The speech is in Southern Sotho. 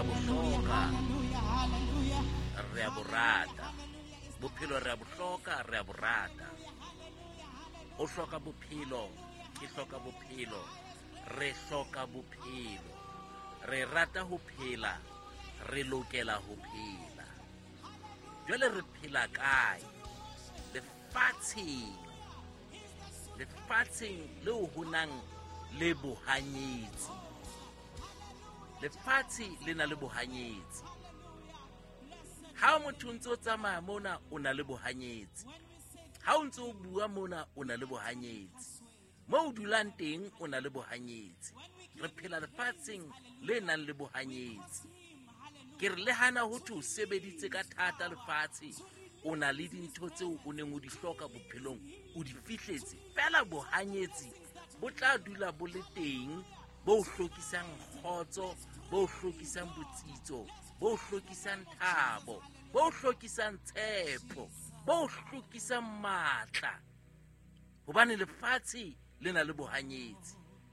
a bo hloka, re a bo rata. Bophelo re a bo hloka, re a bo rata. O hloka bophelo, ke hloka bophelo, re hloka bophelo. Re rata ho phela, re lokela ho phela. Jwale re phela kae? Lefatsheng. Lefatsheng leo ho nang le bohanyetsi. Lefatshe le na le bohanyetsi. Ha motho o ntse o tsamaya mona, o na le bohanyetsi. Ha o ntse o bua mona, o na le bohanyetsi. Mo o dulang teng, o na le bohanyetsi. Re phela lefatsheng le nang le bohanyetsi. Ke re le hana ho thwe o sebeditse ka thata lefatshe, o na le dintho tseo o neng o di hloka bophelong, o di fihletse. Feela bohanyetsi bo tla dula bo le teng, bo o hlokisang kgotso, bo o hlokisang botsitso, bo o hlokisang thabo, bo o hlokisang tshepo, bo o hlokisang matla. Hobane lefatshe le na le bohanyetsi.